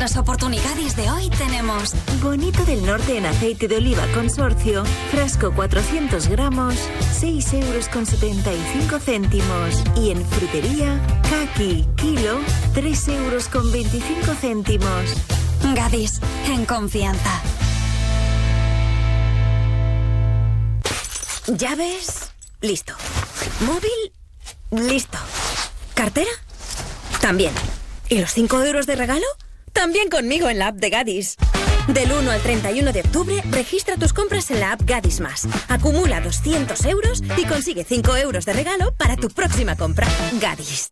los oportunidades de hoy tenemos bonito del norte en aceite de oliva consorcio, frasco 400 gramos, 6,75 €. Y en frutería, caqui, kilo, 3,25 €. Gadis, en confianza. Llaves, listo. Móvil, listo. ¿Cartera? También. ¿Y los 5 € de regalo? También conmigo en la app de Gadis. Del 1 al 31 de octubre, registra tus compras en la app Gadis Más. Acumula 200 € y consigue 5 € de regalo para tu próxima compra. Gadis.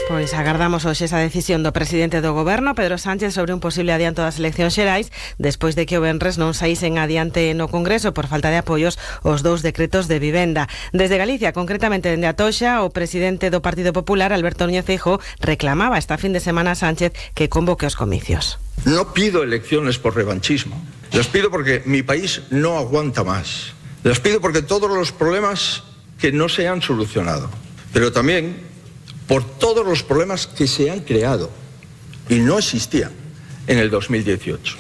Pois agardamos hoxe esa decisión do presidente do goberno, Pedro Sánchez, sobre un posible adianto das eleccións xerais, despois de que o venres non saísen adiante no Congreso por falta de apoios os 2 decretos de vivenda. Desde Galicia, concretamente dende Atoxa, o presidente do Partido Popular, Alberto Núñez Feijóo, reclamaba esta fin de semana a Sánchez que convoque os comicios. No pido elecciones por revanchismo. Las pido porque mi país no aguanta más. Las pido porque todos los problemas que no se han solucionado, pero también por todos los problemas que se han creado y no existían en el 2018.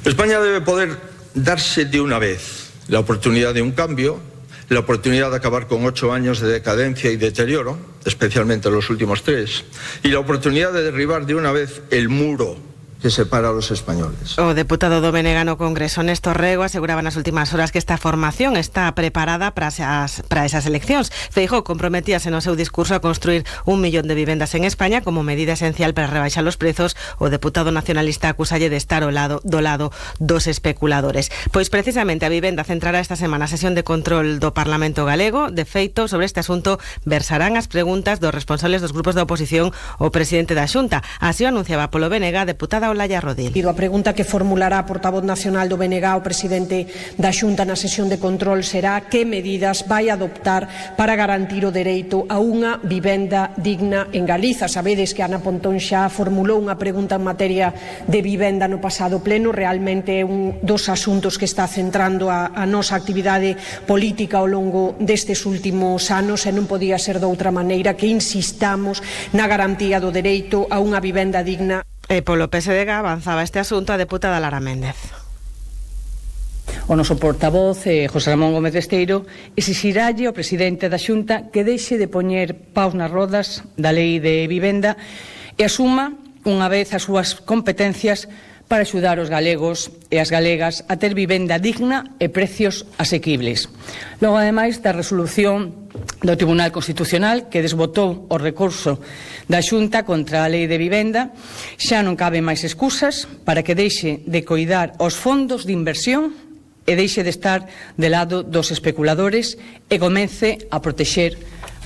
España debe poder darse de una vez la oportunidad de un cambio, la oportunidad de acabar con 8 años de decadencia y deterioro, especialmente los últimos 3, y la oportunidad de derribar de una vez el muro que separa a los españoles. O deputado do BNG no Congreso, Néstor Rego, aseguraba nas últimas horas que esta formación está preparada para esas eleccións. Feijóo comprometíase no seu discurso a construir 1 millón de vivendas en España como medida esencial para rebaixar os prezos. O deputado nacionalista acusalle de estar do lado dos especuladores. Pois precisamente a vivenda centrará esta semana a sesión de control do Parlamento galego. De feito, sobre este asunto versarán as preguntas dos responsables dos grupos da oposición o presidente da Xunta. Así o anunciaba polo BNG a deputada Olaya Rodil. A pregunta que formulará a portavoz nacional do BNG o presidente da Xunta na sesión de control será que medidas vai adoptar para garantir o dereito a unha vivenda digna en Galiza. Sabedes que Ana Pontón xa formulou unha pregunta en materia de vivenda no pasado pleno. Realmente é un dos asuntos que está centrando a nosa actividade política ao longo destes últimos anos e non podía ser de outra maneira que insistamos na garantía do dereito a unha vivenda digna. E polo PSDG avanzaba este asunto a deputada Lara Méndez. O noso portavoz, José Ramón Gómez Besteiro, exixiralle ao presidente da Xunta que deixe de poñer paus nas rodas da lei de vivenda e asuma unha vez as súas competencias para axudar os galegos e as galegas a ter vivenda digna e precios asequibles. Logo, ademais, da resolución do Tribunal Constitucional que desbotou o recurso da Xunta contra a lei de vivenda, xa non caben máis excusas para que deixe de coidar os fondos de inversión e deixe de estar de lado dos especuladores e comece a protexer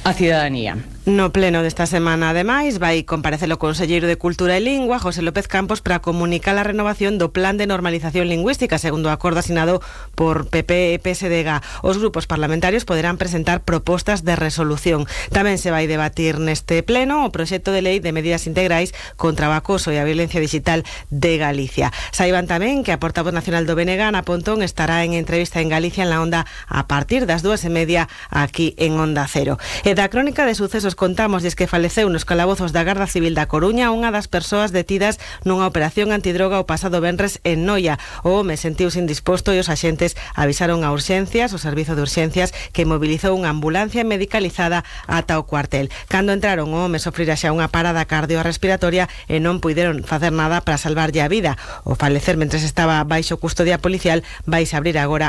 a cidadanía. No pleno desta semana, ademais, vai comparecer o conselleiro de Cultura e Lingua, José López Campos, para comunicar a renovación do Plan de Normalización Lingüística, segundo o acordo asinado por PP e PSDG. Os grupos parlamentarios poderán presentar propostas de resolución. Tamén se vai debatir neste pleno o proxecto de lei de medidas integrais contra o acoso e a violencia digital de Galicia. Saiban tamén que a portavoz nacional do BNG, Ana Pontón, estará en entrevista en Galicia en la Onda a partir das 2:30 aquí en Onda Cero. E da crónica de sucesos contamos que faleceu nos calabozos da Garda Civil da Coruña unha das persoas detidas nunha operación antidroga o pasado venres en Noia. O home sentiuse indisposto e os axentes avisaron a urxencias, o servizo de urxencias, que mobilizou unha ambulancia medicalizada ata o cuartel. Cando entraron, o home sofrira xa unha parada cardiorrespiratoria e non puideron facer nada para salvarlle a vida. O falecer mentres estaba baixo custodia policial, vais abrir agora